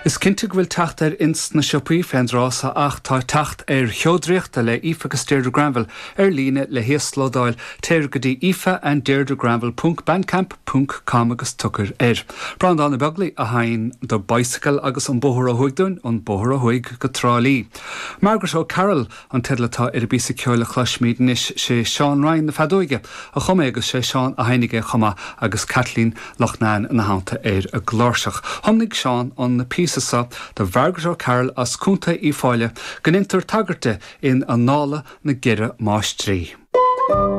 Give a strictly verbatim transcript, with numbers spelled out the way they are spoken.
Is cinnte go bhfuil teacht air ins na siopaí fén dtráth so ach tá teacht ar Cheo Draíochta le Aoife agus Deirdre Granville ar líne le híoslódáil téir go dtí aoifeanddeirdregranville ponc bandcamp ponc com agus tiocfair air. Breandán Ó Beaglaoich a sheinn The Bicycle agus an bóthar ó thuaidh dúinn an bóthar ó thuaidh go Trá Lí. Margaret O'Carroll an teideal atá ar an bpíosa ceoil a chloisfimid anois sé Seán Ryan na feadóige a chum é agus sé Seán a sheinneann é chomh maith agus Kathleen Loughnane ina theannta ar an gcláirseach. Thiomnaigh Seán an píosa seo do Mhargaret O'Carroll as Contae Uíbh Fhailí go ndéantar tagairt di in Annála na gCeithre Máistrí.